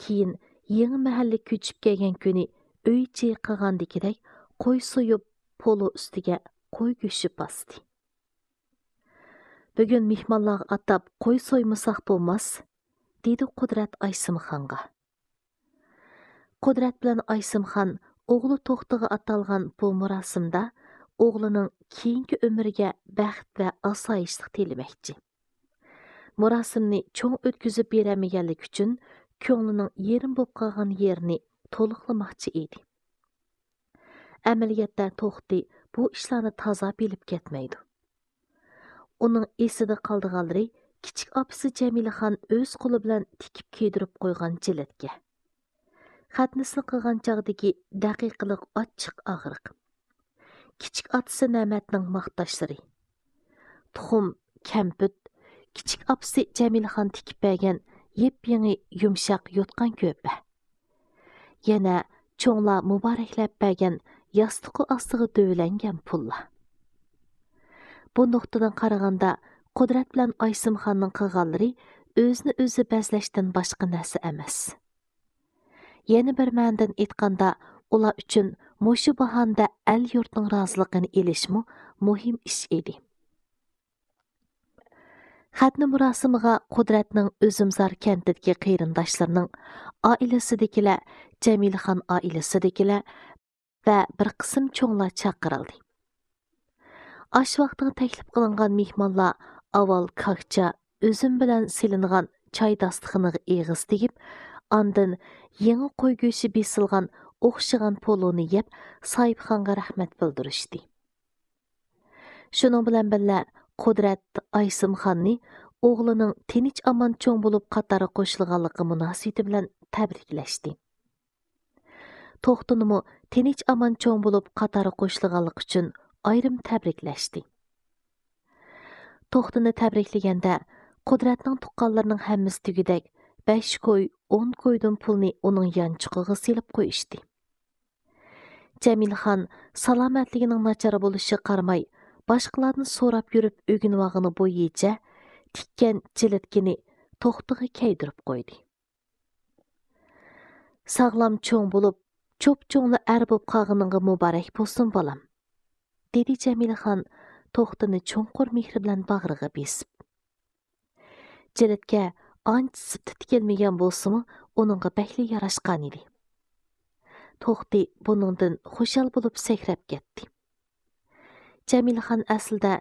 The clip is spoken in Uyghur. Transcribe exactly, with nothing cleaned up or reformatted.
كېيىن يېڭى مەھەللىگە كۆچۈپ كەلگەن كۈنى ئۆي ئىچى قىلغاندىكىدەك قوي سويۇپ، پولۇ ئۈستىگە قوي گۆشى باستى. «بۈگۈن مېھمانلارغا ئاتاپ قوي سويمىساق بولماس»، دېدى قۇدرەت ئايسىمخانغا. قۇدرەت بىلەن ئايسىمخان ئوغلى توختىغا ئاتالغان بۇ مۇراسىمدا ئوغلىنىڭ كېيىنكى ئۆمرىگە بەخت ۋە ئاسايىشلىق تىلىمەكچى. مۇراسىمنى چوڭ ئۆتكۈزۈپ بېرەلمىگەنلىكى ئۈچۈن كۆڭلىنىڭ يېرىم بولۇپ قالغان يېرىنى تولۇقلىماقچى ئىدى. ئەمەلىيەتتە توختى بۇ ئىشلارنى تازا بىلىپ كەتمەيدۇ. ئۇنىڭ ئېسىدە قالىدىغانلىرى كىچىك ئاپىسى جەمىلىخان ئۆز قولى بىلەن تىكىپ كىيدۈرۈپ قويغان جىلەتكە، خەتنىسىنى قىلغان چاغدىكى دەقىقىلىق ئاچچىق ئاغرىق، كىچىك ئاتىسى نەمەتنىڭ ماختاشلىرى، تۇخۇم، كەمپۈت، كىچىك ئاپىسى جەمىلىخان تىكىپ بەرگەن يېپيېڭى يۇمشاق يوتقان كۆرپە، يەنە چوڭلار مۇبارەكلەپ بەرگەن ياستۇقى ئاستىغا دۆۋىلەنگەن پۇللار. بۇ نۇقتىدىن قارىغاندا، قۇدرەت بىلەن ئايسىمخاننىڭ قىلغانلىرى ئۆزىنى ئۆزى بەزلەشتىن باشقا نەرسە ئەمەس. يەنە بىر مەنىدىن ئېيتقاندا، ئۇلار ئۈچۈن مۇشۇ باھانىدە ئەل-يۇرتنىڭ رازىلىقىنى ئېلىشمۇ مۇھىم ئىش ئىدى. خەتنە مۇراسىمىغا قۇدرەتنىڭ ئۈزۈمزار كەنتىدىكى قېرىنداشلىرىنىڭ، ئائىلىسىدىكىلەر، جەمىلىخان ئائىلىسىدىكىلەر ۋە بىر قىسىم چوڭلار چاقىرىلدى. ئاش ۋاقتىغا تەكلىپ قىلىنغان مېھمانلار ئاۋۋال كاكچا، ئۈزۈم بىلەن سېلىنغان چاي داستىخىنىغا ئېغىز تېگىپ، ئاندىن يېڭى قوي گۆشى بېسىلغان ئوخشىغان پولۇنى يەپ، ساھىبخانغا رەھمەت بىلدۈرۈشتى. شۇنىڭ بىلەن بىللە، قۇدرەت ئايسىمخاننى ئوغلىنىڭ تىنچ-ئامان چوڭ بولۇپ قاتارغا قوشۇلغانلىقى مۇناسىۋىتى بىلەن تەبرىكلەشتى. توختىنىمۇ تىنچ-ئامان چوڭ بولۇپ قاتارغا قوشۇلغانلىقى ئۈچۈن ئايرىم تەبرىكلەشتى. توختىنى تەبرىكلىگەندە، قۇدرەتنىڭ تۇغقانلىرىنىڭ ھەممىسى دېگۈدەك بەش كوي، ئون كويدىن پۇلنى ئۇنىڭ يانچۇقىغا سېلىپ قويۇشتى. جەمىلخان سالامەتلىكىنىڭ ناچار بولۇشىغا قارىماي، باشقىلاردىن سوراپ يۈرۈپ ئۆگىنىۋالغىنى بويىچە تىككەن جىلىتكىنى توختىغا كىيدۈرۈپ قويدى. «ساغلام چوڭ بولۇپ، چوپچوڭلا ئەر بولۇپ قالغىنىڭغا مۇبارەك بولسۇن، بالام»، دېدى جەمىلىخان توختىنى چوڭقۇر مېھرى بىلەن باغرىغا بېسىپ. جىلىتكە ئانچە سىپتا تىكىلمىگەن بولسىمۇ، ئۇنىڭغا بەكلا ياراشقانىدى. توختى بۇنىڭدىن خۇشال بولۇپ سەكرەپ كەتتى. جەمىلىخان ئەسلىدە